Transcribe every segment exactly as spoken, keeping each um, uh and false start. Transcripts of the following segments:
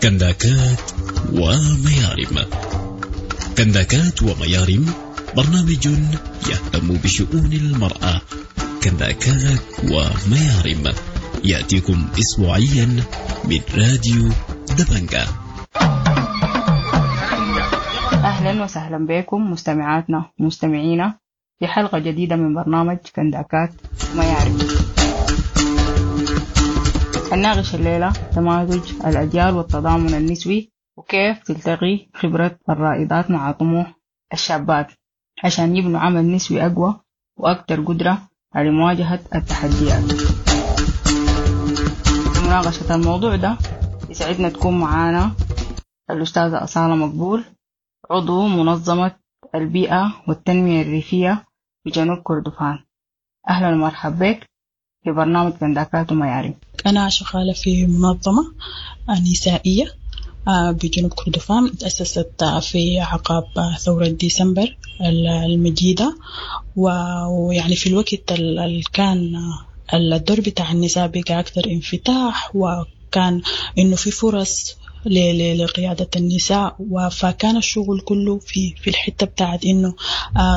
كنداكات وميارم. كنداكات وميارم برنامج يهتم بشؤون المرأة. كنداكات وميارم يأتيكم أسبوعيا من راديو دبنجة. أهلا وسهلا بكم مستمعاتنا ومستمعينا في حلقة جديدة من برنامج كنداكات وميارم. هنناقش الليلة تمازج الأجيال والتضامن النسوي وكيف تلتقي خبرة الرائدات مع طموح الشابات عشان يبنوا عمل نسوي أقوى وأكثر قدرة على مواجهة التحديات. لمناقشة الموضوع ده يسعدنا تكون معانا الأستاذة أصالة مقبول، عضو منظمة البيئة والتنمية الريفية بجنوب كردفان. أهلا ومرحبا بك في برنامج كنداكات وميارم. أنا شغالة في منظمة نسائية بجنوب كردفان، تأسست في عقاب ثورة ديسمبر المجيدة، ويعني في الوقت اللي كان الدور بتاع النساء بقى أكثر انفتاح، وكان إنه في فرص لقيادة النساء، فكان الشغل كله في في الحتة بتاعت إنه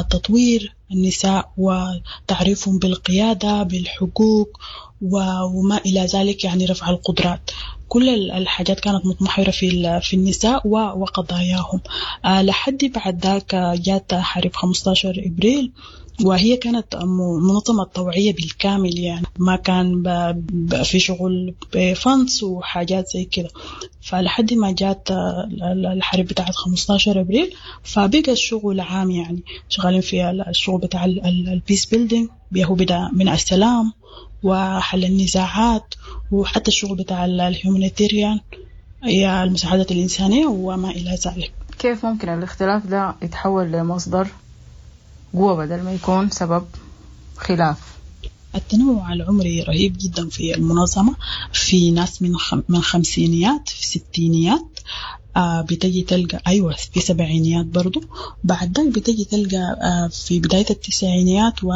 تطوير النساء وتعريفهم بالقيادة بالحقوق وما إلى ذلك، يعني رفع القدرات. كل الحاجات كانت متمحورة في في النساء وقضاياهم. لحد بعد ذاك جات حرب خمسة عشر إبريل، وهي كانت منظمة طوعية بالكامل، يعني ما كان في شغل بفنس وحاجات زي كده. فلحد ما جات الحرب بتاعت خمسة عشر أبريل فبقى الشغل عام، يعني شغالين في الشغل بتاع ال peace building، هو بدأ من السلام وحل النزاعات، وحتى الشغل بتاع ال humanitarian، هي المساعدات الإنسانية وما إلى ذلك. كيف ممكن الاختلاف ده يتحول لمصدر قوة بدل ما يكون سبب خلاف؟ التنوع العمري رهيب جدا في المنظمة. في ناس من خم... من خمسينيات، في ستينيات، آه بتجي تلقى أيوة في سبعينيات برضو. بعد ذلك بتجي تلقى آه في بداية التسعينيات و...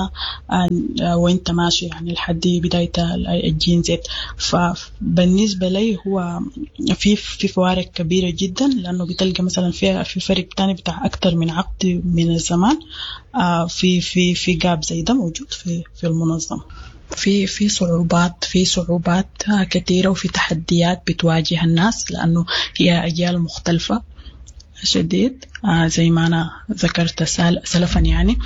آه وانت ماشي يعني لحد بداية الجين زد. فبالنسبة لي هو في في فوارق كبيرة جدا، لأنه بتلقى مثلا في في فرق تاني بتاع أكتر من عقد من الزمان، آه في في في جاب زي ده موجود في في المنظمة. في في صعوبات في صعوبات كثيرة وفي تحديات بتواجه الناس، لأنه هي أجيال مختلفة شديد. آه زي ما أنا ذكرت سلفا، يعني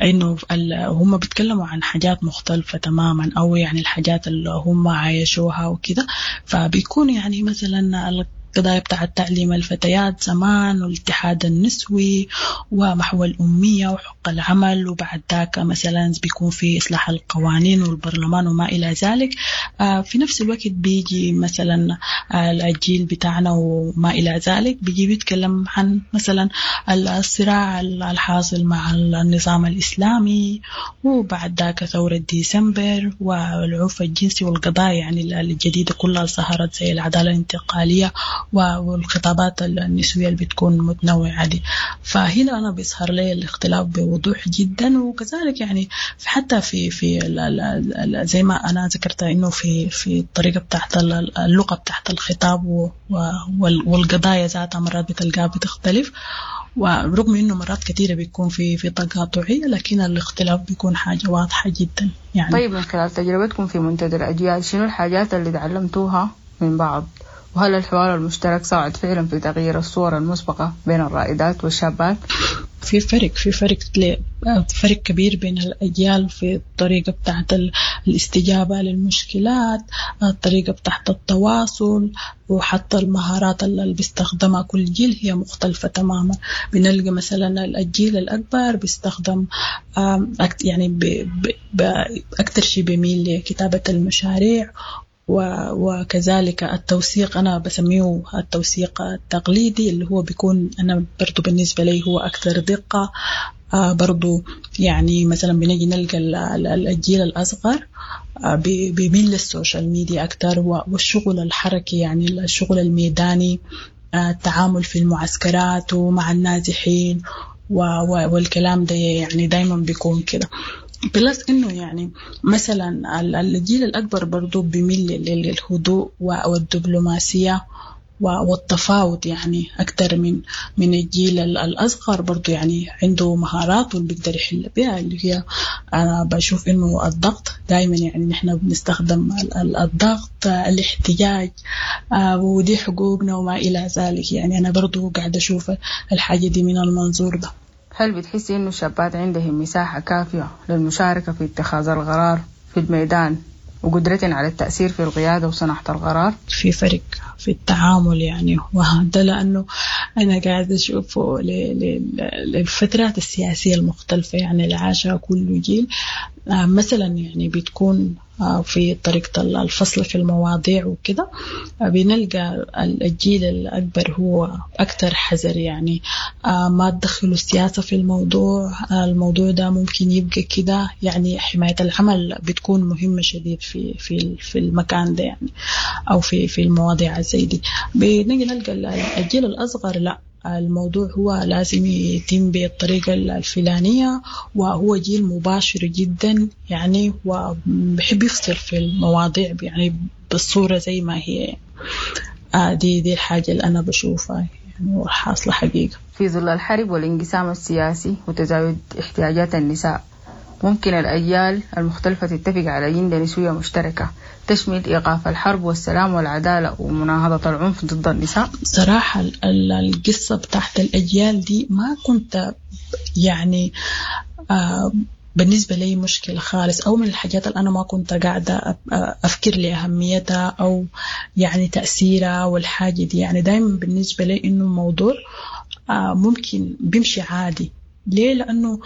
إنه هم بيتكلموا عن حاجات مختلفة تماما، أو يعني الحاجات اللي هم عايشوها وكده. فبيكون يعني مثلا القضايا بتاع تعليم الفتيات زمان، والاتحاد النسوي، ومحو الأمية، وحق العمل، وبعد ذاك مثلا بيكون في إصلاح القوانين والبرلمان وما إلى ذلك. في نفس الوقت بيجي مثلا الجيل بتاعنا وما إلى ذلك، بيجي بيتكلم عن مثلا الصراع الحاصل مع النظام الإسلامي، وبعد ذاك ثورة ديسمبر والعنف الجنسي والقضايا يعني الجديدة كلها ظهرت زي العدالة الانتقالية والخطابات النسوية اللي بتكون متنوعة دي. فهنا أنا بيظهر لي الاختلاف بوضوح جدا. وكذلك يعني حتى في في زي ما أنا ذكرت إنه في في الطريقة بتاعت اللغة بتاعت الخطاب والقضايا ذاتها مرات بتلقاها بتختلف، ورغم إنه مرات كثيرة بيكون في في تقاطعية، لكن الاختلاف بيكون حاجة واضحة جدا يعني. طيب، من خلال تجربتكم في منتدى الأجيال، شنو الحاجات اللي تعلمتوها من بعض؟ وهل الحوار المشترك ساعد فعلا في تغيير الصور المسبقة بين الرائدات والشابات؟ في فرق في فرق فرق كبير بين الأجيال في الطريقة بتاعت الاستجابة للمشكلات، الطريقة بتاعت التواصل، وحتى المهارات اللي بيستخدمها كل جيل هي مختلفة تماما. بنلقى مثلا الجيل الأكبر بيستخدم يعني أكثر شيء بيميل لكتابة المشاريع، وكذلك التوثيق. أنا بسميه التوثيق التقليدي، اللي هو بيكون أنا برضو بالنسبة لي هو أكثر دقة. برضو يعني مثلا بنجي نلقى الجيل الأصغر بيميل لل social media أكثر، والشغل الحركي يعني الشغل الميداني، التعامل في المعسكرات ومع النازحين والكلام ده يعني دايما بيكون كده. plus إنه يعني مثلا الجيل الأكبر برضو بيميل للهدوء والدبلوماسية والتفاوض يعني أكتر من من الجيل الأصغر برضو، يعني عنده مهارات واللي بيقدر يحل بها، اللي هي أنا بشوف إنه الضغط دايما، يعني نحن بنستخدم الضغط، الاحتجاج، ودي حقوقنا وما إلى ذلك. يعني أنا برضو قاعدة أشوف الحاجة دي من المنظور ده. هل بتحسي إنه الشابات عندهم مساحة كافية للمشاركة في اتخاذ القرار في الميدان وقدرتهم على التأثير في القيادة وصناعة القرار؟ في فرق في التعامل يعني، وهذا لأنه أنا قاعدة أشوفه للفترات السياسية المختلفة يعني اللي عاشها كل جيل. مثلا يعني بتكون في طريقة الفصل في المواضيع وكده، بنلقى الجيل الأكبر هو أكثر حذر، يعني ما تدخلوا السياسة في الموضوع، الموضوع ده ممكن يبقى كده، يعني حماية العمل بتكون مهمة شديد في في في المكان ده يعني، أو في في المواضيع زي دي. بنجي نلقى الجيل الأصغر لا، الموضوع هو لازم يتم بالطريقة الفلانية، وهو جيل مباشر جدا يعني، وبحب يفصل في المواضيع يعني بالصورة زي ما هي. آه دي دي الحاجة اللي أنا بشوفها يعني وحاصلة حقيقة. في ظل الحرب والانقسام السياسي وتزايد احتياجات النساء، ممكن الأجيال المختلفة تتفق على أجندة نسوية مشتركة تشمل إيقاف الحرب والسلام والعدالة ومناهضة العنف ضد النساء؟ صراحة القصة بتاعت الأجيال دي ما كنت يعني آه بالنسبة لي مشكلة خالص، أو من الحاجات اللي أنا ما كنت قاعدة أفكر لأهميتها أو يعني تأثيرها والحاجة دي. يعني دايما بالنسبة لي إنه الموضوع آه ممكن بيمشي عادي. ليه؟ لأنه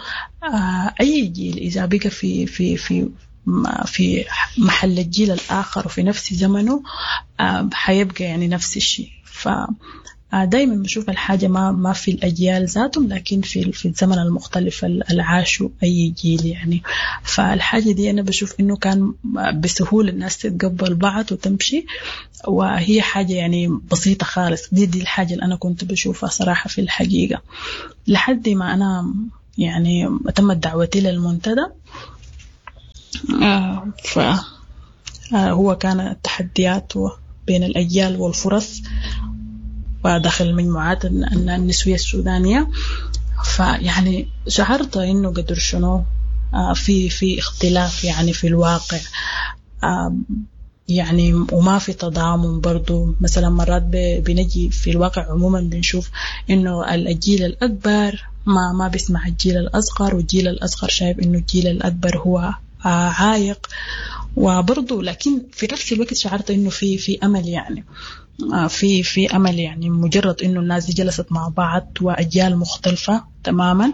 أي جيل إذا بقى في في في في محل الجيل الآخر وفي نفس زمنه حيبقى يعني نفس الشيء. فدايما بشوف الحاجة ما ما في الأجيال ذاتهم، لكن في في الزمن المختلف اللي عاشوا أي جيل يعني. فالحاجة دي أنا بشوف إنه كان بسهولة الناس تتقبل بعض وتمشي، وهي حاجة يعني بسيطة خالص. دي دي الحاجة اللي أنا كنت بشوفها صراحة في الحقيقة، لحد ما أنا يعني تمت دعوتي للمنتدى. آه فهو كان التحديات بين الأجيال والفرص وداخل المجموعات النسوية السودانية. فيعني شعرت إنه قدر شنو آه في في اختلاف يعني في الواقع، آه يعني وما في تضامن برضو. مثلا مرات بنجي في الواقع عموما بنشوف إنه الجيل الأكبر ما ما بيسمع الجيل الأصغر، والجيل الأصغر شايف إنه الجيل الأكبر هو عايق. وبرضو لكن في نفس الوقت شعرت إنه في في أمل يعني، في في أمل يعني، مجرد إنه الناس دي جلست مع بعض وأجيال مختلفة تماما.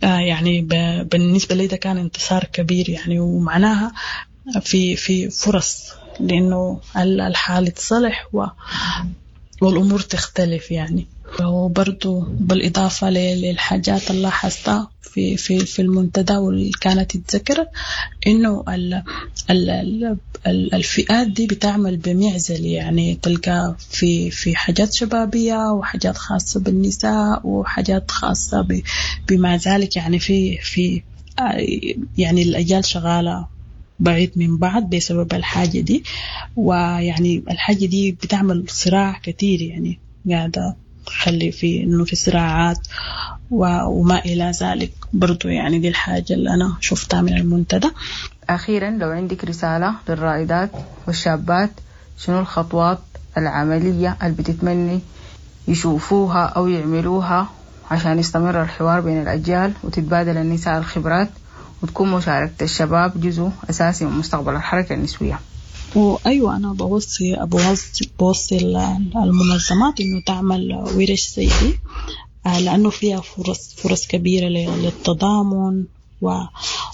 يعني بالنسبة لي ده كان انتصار كبير يعني، ومعناها في في فرص لأنه الحال تصلح و والأمور تختلف يعني. وبرضو بالإضافة للحاجات اللي لاحظتها في في في المنتدى واللي كانت اتذكرت، إنه ال ال ال الفئات دي بتعمل بمعزل يعني، تلقى في في حاجات شبابية وحاجات خاصة بالنساء وحاجات خاصة بما ذلك يعني. في في يعني الأجيال شغالة بعيد من بعض بسبب الحاجة دي، ويعني الحاجة دي بتعمل صراع كتير يعني، قاعدة تخلي في إنه في صراعات وما إلى ذلك برضو يعني. دي الحاجة اللي أنا شفتها من المنتدى. أخيرا لو عندك رسالة للرائدات والشابات، شنو الخطوات العملية اللي بتتمني يشوفوها أو يعملوها عشان يستمر الحوار بين الأجيال وتتبادل النساء الخبرات وتكون مشاركة الشباب جزء أساسي من مستقبل الحركة النسوية؟ وأيوة، أنا بوصي بوصي, بوصي المنظمات إنه تعمل ورش زي دي، لأنه فيها فرص فرص كبيرة للتضامن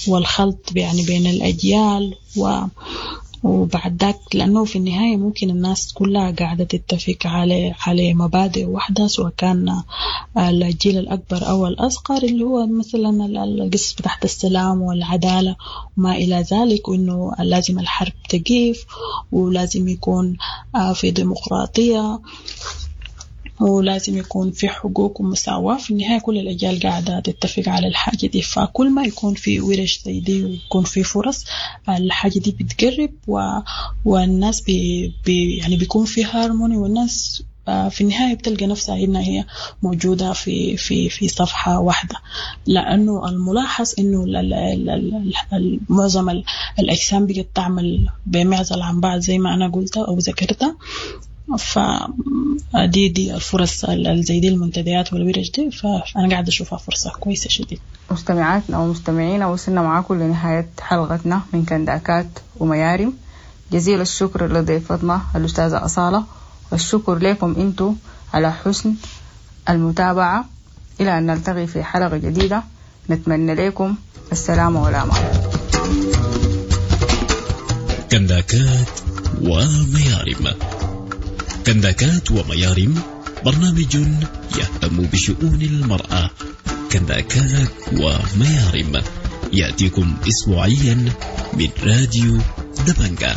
والخلط يعني بين الأجيال و وبعد ذاك، لأنه في النهاية ممكن الناس كلها قاعدة تتفق على على مبادئ واحدة، سواء كان الجيل الأكبر أو الأصغر، اللي هو مثلا القصة بتاعت السلام والعدالة وما إلى ذلك، وإنه لازم الحرب تقيف ولازم يكون في ديمقراطية ولازم يكون في حقوق ومساواة. في النهاية كل الأجيال قاعدة تتفق على الحاجة دي، فكل ما يكون في ورش زي دي ويكون في فرص، الحاجة دي بتقرب و... والناس بي... بي... يعني بيكون في هارموني، والناس في النهاية بتلقى نفسها إنها هي موجودة في في في صفحة واحدة، لأنه الملاحظ إنه معظم الأجسام بقت تعمل بمعزل عن بعض زي ما أنا قلت أو ذكرت. فدي دي الفرص زي دي المنتديات والورش دي، فأنا قاعدة أشوفها فرصة كويسة شديد. مستمعاتنا ومستمعينا، وصلنا معاكم لنهاية حلقتنا من كنداكات وميارم. جزيل الشكر لضيفتنا الأستاذة أصالة، والشكر لكم أنتو على حسن المتابعة. إلى أن نلتقي في حلقة جديدة، نتمنى لكم السلامة والأمان. كنداكات وميارم. كنداكات وميارم برنامج يهتم بشؤون المرأة. كنداكات وميارم يأتيكم أسبوعيا من راديو دبنجة.